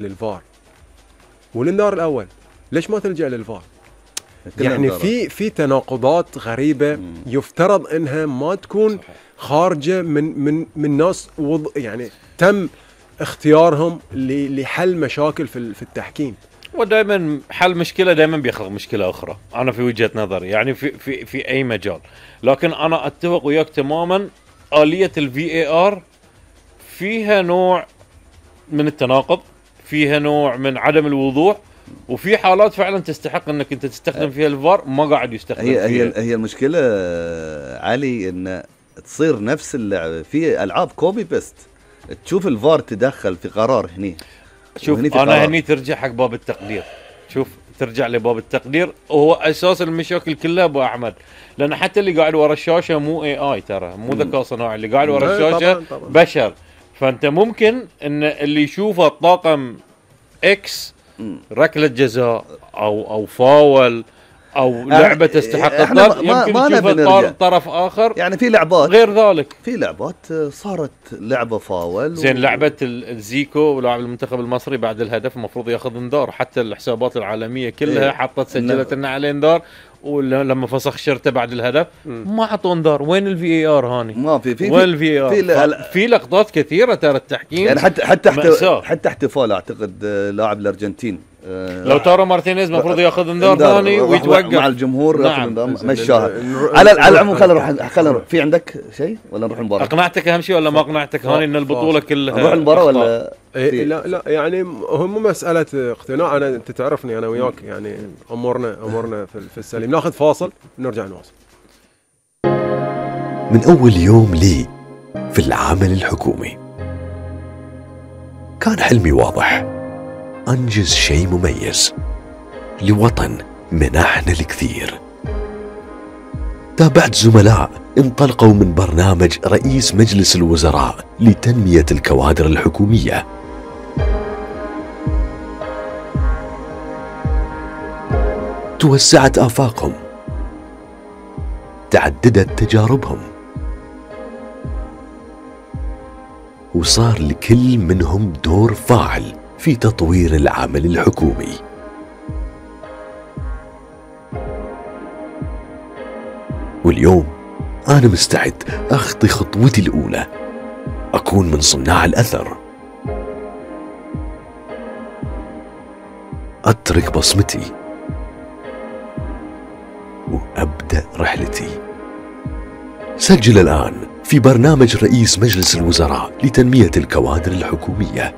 للفار والانذار الاول، ليش ما تلجأ للفار؟ يعني في تناقضات غريبه يفترض انها ما تكون خارجه من ناس يعني تم اختيارهم لحل مشاكل في التحكيم. ودائما حل مشكله دائما بيخلق مشكله اخرى، انا في وجهه نظري يعني في اي مجال. لكن انا اتفق وياك تماما، آلية الVAR فيها نوع من التناقض، فيها نوع من عدم الوضوح، وفي حالات فعلا تستحق انك انت تستخدم فيها الفار ما قاعد يستخدم فيها. هي المشكله علي ان تصير نفس اللعبه في العاب كوبي بيست، تشوف الفار تدخل في قرار هني. شوف انا هني ترجع حق باب التقدير، شوف ترجع لباب التقدير، وهو اساس المشاكل كلها ابو احمد، لان حتى اللي قاعد ورا الشاشه مو AI، ترى مو ذكاء صناعي، اللي قاعد ورا الشاشه طبعاً. بشر. فانت ممكن ان اللي يشوفه الطاقم اكس ركله جزاء او فاول او لعبه تستحق الطرد، يمكن تشوف طرف اخر يعني في لعبات غير ذلك. في لعبات صارت لعبه فاول زين لعبه الزيكو ولاعب المنتخب المصري بعد الهدف المفروض ياخذ انذار، حتى الحسابات العالميه كلها حطت سجلت لنا عليه انذار، ولما فسخ شرطه بعد الهدف ما عطوا انذار. وين الVAR هاني؟ ما في وين الVAR؟ في لقطات كثيره ترى التحكيم يعني حتى احتفال اعتقد لاعب الارجنتين لو تارو مارتينيز المفروض ياخذ انذار ثاني ويتوقف مع الجمهور. نعم. مشاها على العموم. خلينا نروح. في عندك شيء ولا نروح المباراه؟ اقنعتك اهم شيء ولا ما اقنعتك هاني ان البطوله كلها نروح المباراه ولا لا يعني هو مو مساله اقتناع. انا انت تعرفني انا وياك يعني امورنا في السليم. ناخذ فاصل ونرجع نواصل. من اول يوم لي في العمل الحكومي كان حلمي واضح، أنجز شيء مميز لوطن منحنا الكثير. تابعت زملاء انطلقوا من برنامج رئيس مجلس الوزراء لتنمية الكوادر الحكومية. توسعت آفاقهم، تعددت تجاربهم، وصار لكل منهم دور فاعل في تطوير العمل الحكومي. واليوم أنا مستعد أخطي خطوتي الأولى، أكون من صناع الأثر، أترك بصمتي وأبدأ رحلتي. سجل الآن في برنامج رئيس مجلس الوزراء لتنمية الكوادر الحكومية